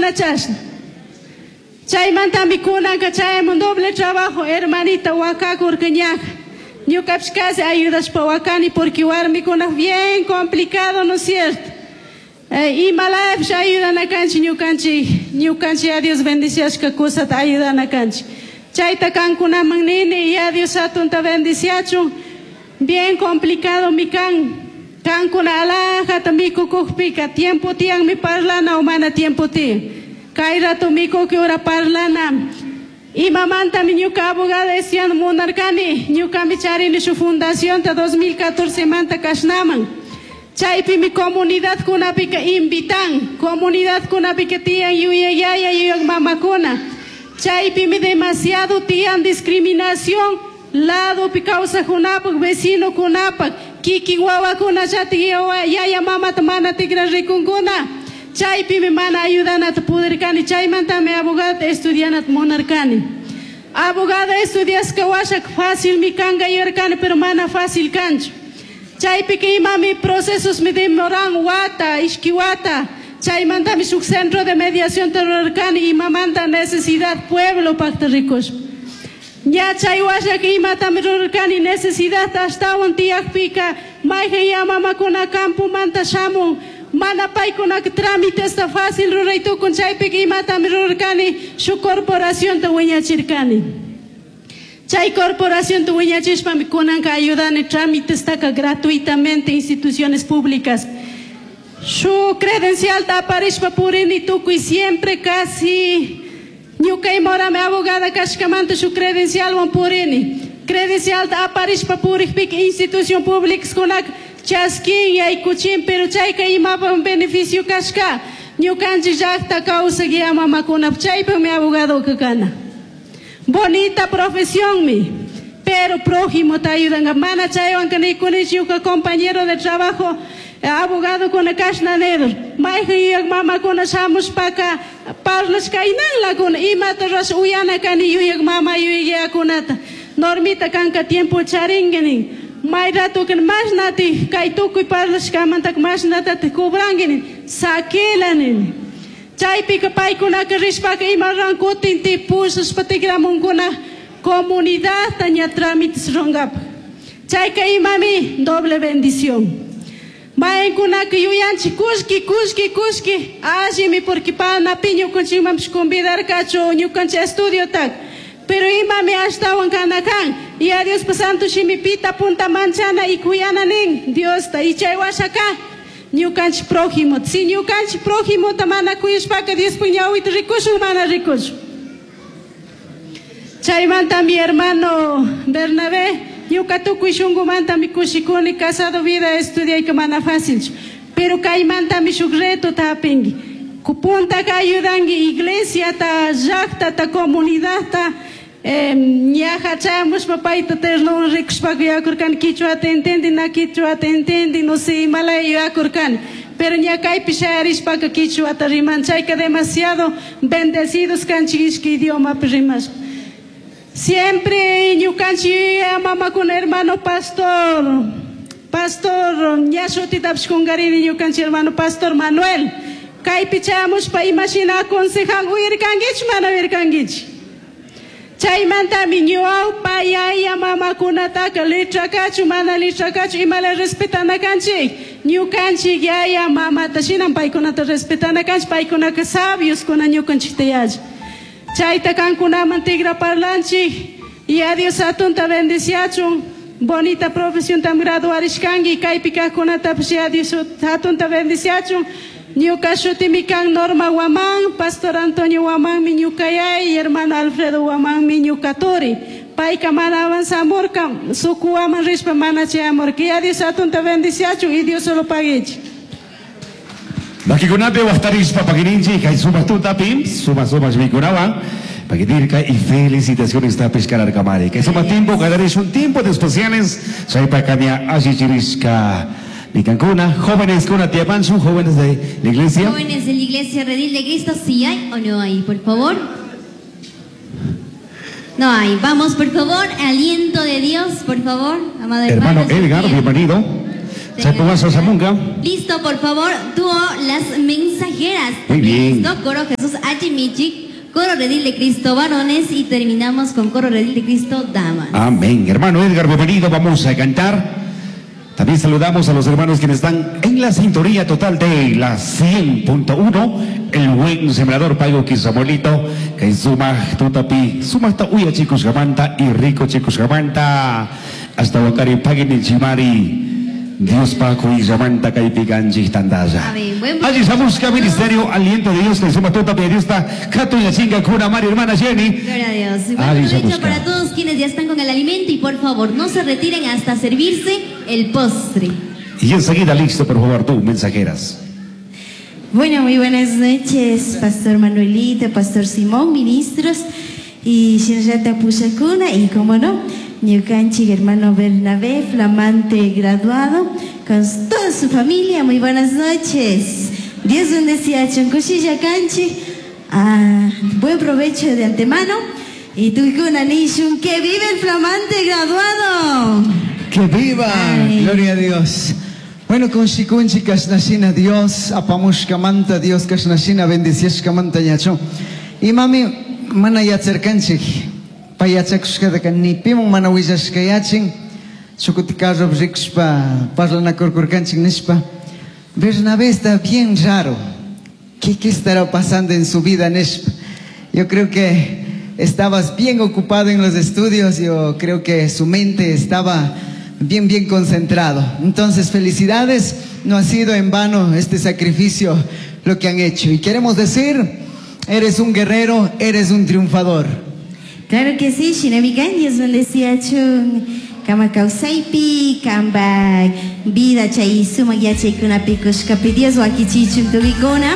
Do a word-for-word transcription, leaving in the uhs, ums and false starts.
Mana chashna. Chaymantami kunanka chayamun doble trabajo, hermanita wakakurka ñaja. Ñukapish casi ayudashpa wakani porque warmikuna bien complicado, ¿no es cierto? Eh, imalapish ayudana kanchik ñukanchik, ñukanchik a Dios bendiciashka kusata ayudana kanchik. Chayta kankunaman nini, y a Dios hatunta bendiciachun. Bien complicado mi kan. Kankuna alajata mikukukpika tiempo tiyan mi parlana o mana tiempo tiyan. Kay rato mikuki ura parlana. Imamantami ñuka abogada estudiando munarkani, ñukami charini shu fundación ta dos mil catorce manta kashnaman. Chaypi mi comunidad kunapika invitan, comunidad kunapika tiyan yuyayaya yuyag mamakuna. Chaypi mi demasiado tiyan discriminación, lado pi kawsajkunapak, vecino kunapak, kikin wawakuna chati yaya mamata mana tikra rikunkuna. Chaypi mi mana ayudanata pudirkani, chaymantami abogada estudianata munarkani. Abogada estudiashka washak fácil mi kanka yuyarkani, pero mana fácil kanchu. Chaypika imami procesos mi demoran wata, ishki wata. Chaymantami shuk centro de mediación rurarkani, imamanta necesidad pueblo pakta rikushpa. Ña chay washaka imatami rurarkani necesidad ashtawan tiyakpika, mayhan ya mamakuna campomanta shamun, mana paykunaka trámitesta fácil ruray tukun, chaypika imatami rurarkani shuk corporacionta wiñachirkani. Chay corporacionta wiñachishpami kunanka ayudani trámitestaka gratuitamente instituciones públicas. Shu credencial aparishpa purini tukuy siempre casi ñuka imorami abogada kashkamanta shu credencialwan purini. Credencial aparishpa purikpika institución públicas kunaka chaskin yaykuchin, pero chayka imapa beneficio kashka. Ñukanchik llaqta kawsaq ya mamakunap chaypimi abogado kana. Bonita profesión mi, pero prójimo te ayudan. Mana chaywan nikunish ñuka compañero de trabajo, abogado kuna kashna nedur. Mayhan yuyaq mamakuna shamushpaka parlashka inanlakuna imata rash uyana kani yuyaq mama yuyaq. Normita kanka tiempo charinki nin. May rato kan mashnati kay tukuy parlashkamantaka mashnatati cobranki nin. Sakila nin. Chaypika paykunaka rishpaka ima ran kutin ti pushashpa tikramunkuna comunidad ña trámites rurankapak. Chayka imami doble bendición. Maykunaka yuyanchik kushki kushki kushki allimi porque panapi ñukanchikmanpish convidarkachu ñukanchik estudiotaka. Pero imami ashtawan kana kan. Y a Dios santo shimipita punta manchana y kuyana nin Diosta y chay washaka ñukanchik prójimo. Si ñukanchik prójimo ta mana kuyashpaka Diospuk ñawita rikushun mana rikushun. Chaymanta mi hermano Bernabé, ñuka tukuy shunkumantami kushikuni casado vida estudiayka mana fácilchu. Pero kaymantami shuk reto ta hapinki. Puntaka ayudanki iglesiata, llaqtata, comunidadta. Ñaja chayamushpa payta ternuwan rikushpaka yuyakurkani quichuata entendi, na quichuata entendi, no sé, imalaya yuyakurkani. Pero ña kaypi shayarishpaka quichuata riman, chayka demasiado bendecidos kanchik ishki idiomapi rimashpa. Siempre ñukanchik mamakuna hermano pastor, pastor ña shutitapish kunkarini ñukanchik hermano pastor Manuel. Kaypi chayamushpa imashina aconsejan uyarkankichu mana uyarkankichu. Chaymantami ñawpa yaya mamakunataka litrakachu mana litrakachu imala respetana kanchik. Ñukanchik yaya mamata shinan paykunata respetana kanchik, paykunaka sabios kuna ñukanchikta yalli. Chayta kankunaman tigra parlanchik. Y a Dios hatunta bendiciachun. Bonita profesión tam graduarishkanki kaypi kaqkunatapish ya Dios hatunta bendiciachun. Ñuka shutimi kan Norma Guamán, Pastor Antonio Guamán mi ñukayay, hermano Alfredo Guamán mi ñukaturi. Payka mana avanzamurka, suku Guamán rishpa mana chayamurka. Ya Dios hatunta bendiciachun y Dios solo paguichi. Makikunapi waqtarishpa pakininchik kay sumaq tutapi, suma sumaq mikunawan. Pakitirka y felicitaciones tapis kararkamari. Kay sumaq tiempo, kadarish un tiempo de especiales. Chaypaka allichirishka. Nicancuna, jóvenes kuna tiapanchu, jóvenes de la iglesia. Jóvenes de la iglesia Redil de Cristo, ¿sí hay o no hay? Por favor. No hay. Vamos, por favor, aliento de Dios, por favor, amado hermano hermano Edgar, Sofía. Bienvenido. Listo, por favor, dúo Las Mensajeras. Muy bien. Listo, coro Jesús Achimichic, coro Redil de Cristo varones y terminamos con coro Redil de Cristo damas. Amén. Hermano Edgar, bienvenido, vamos a cantar. También saludamos a los hermanos quienes están en la sintonía total de la cien punto uno, el buen sembrador Pago Quisamuelito, que suma tutapi, suma hasta uya chicos jamanta y rico chicos jamanta, hasta Wakari Pagini Chimari, Dios Paco y Jamanta Caipiganchi Tandaya. Allí estamos, que ministerio, aliento de Dios, que suma tutapi, Dios está, Cato y chinga, cura, Mari, hermana Jenny. Gloria a Dios. Y buen provecho para todos quienes ya están con el alimento y por favor no se retiren hasta servirse el postre. Y enseguida listo, por favor, tú, mensajeras. Bueno, muy buenas noches, Pastor Manuelito, Pastor Simón, ministros, y Shinrata Pushakuna, y como no, Ñukanchik, hermano Bernabé, flamante graduado, con toda su familia, muy buenas noches. Dios bendecía a Chonkushilla Kanchi, ah, buen provecho de antemano, y Tuikuna Nishun, que vive el flamante graduado. ¡Que viva! Ay. Gloria a Dios. Bueno, con Shikunchi Kashnashina Dios, apamushkamanta Dios Kashnashina bendiciashkamanta ñacho. Y mami, mana yacherkanchik, payachakushkataka ni pimun mana willashkayachin, shukuti carro rikushpa parlanakurkurkanchik nishpa. Bernabé está bien raro. ¿Qué, qué estará pasando en su vida, nishpa? Yo creo que estabas bien ocupado en los estudios, yo creo que su mente estaba bien, bien concentrado. Entonces, felicidades, no ha sido en vano este sacrificio lo que han hecho. Y queremos decir, eres un guerrero, eres un triunfador. Claro que sí, Shinamikan, Dios bendecía chun, kama kausaipi, kamba vida chay suma yachay kunapi kushkapi, Dios wakichichun tubikuna.